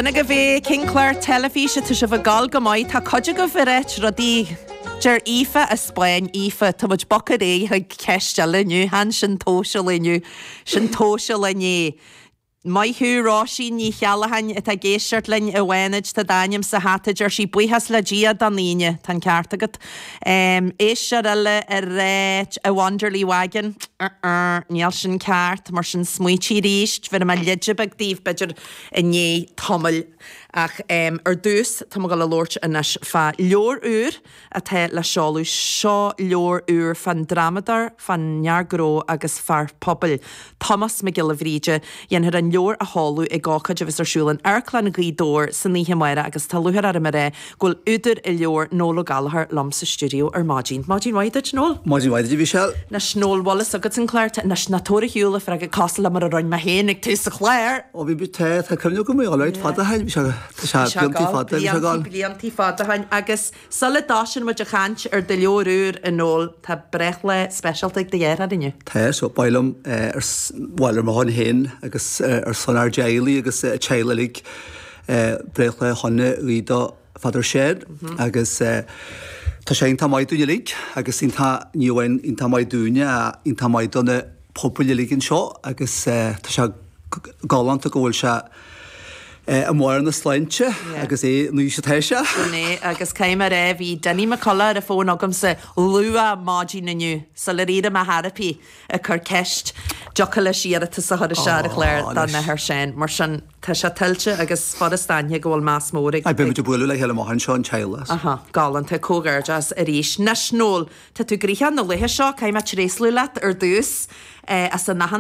Sin agaibh é, cén clár teilifíse tá sibh ag gabháil go maith, tá cuid agaibh ag ráit rudaí, deir Aoife as Spáinn, Aoife, tá muid bogtha ar aghaidh chuig ceist eile inniu, chan sin tomhais an lae inniu, sin tomhas an lae inné. Maith thú Róisín Ní Cheallacháin atá ag éisteacht linn i bhFánaid, tá d'ainm sa hata, deir sí, buíochas le Dia don Aoine, tá an ceart agat. Éisteoir eile ag ráit a Wanderley Wagon, níl sin ceart, mar sin smaoitigh arís, bhéarfaidh mé leide beag daoibh b'fhéidir i ndiaidh tamaill. Ach ar dtús, tá mé ag dul a labhairt anois fá leabhar úr atá le seoladh. Seo leabhar úr fán drámadóir, fán fhear gnó agus fear pobail, Tomás Mac Giolla Bhríde. Dhéanfar an leabhar a sheoladh ag ócáid a bheas ar siúl in Amharclann Ghaoth Dobhair san oíche amárach agus tá lúcháir orm a rá go bhfuil údar an leabhair, Noel Ó Gallchóir, liom sa stiúideo ar maidin. Maidin mhaith duit, Noel. Maidin mhaith duit, a Mhichelle. Anois, Noel, bhfuil fhios agat an clár, anois, ná tabhair ar shiúl an freagra cosúil le mar a rinne mé féin ag tús an chláir. Ó bhí, tá, tá cuimhne agam, bhí alright fada ó shin, bhí sé, tá sé bliantaí fada, bhí sé ag gabháil. Bliantaí fada ó shin agus sula dtosaíonn muid ag caint ar do leabhar úr, a Noel, tá breithlá speisialta ag do dheartháir inniu. Tá, so ba mhaith liom ar, bhuel ar mo shon féin agus ar son ár dteaghlaigh agus an teaghlaigh uilig, breithlá shona a ghuí do Father Seán agus tá sé iontach maith dúinn uilig agus iontach, ní amháin iontach maith dúinne ach iontach maith do na pobail uilig anseo agus tá sé galánta go bhfuil sé i mbarr na sláinte agus é an aois atá sé. Sin é agus caithfidh mé a rá bhí Dinny McCullough ar an bhfón agamsa luath maidin inniu sular éirigh mé therapy ag cur ceist dtiocfadh leis iarratas a chur isteach ar an chlár don Athair Seán. Mar sin, tá sé tuillte agus furast a aithne go bhfuil meas mór ag. Aye, beidh muid ag bualadh le chéile amach anseo, an teaghlach. Aha, galánta, comhghairdeas arís. Anois, Noel, tá tú gnoitheach na laetha seo, caithfidh mé tréaslú leat ar dtús as an aitheantas.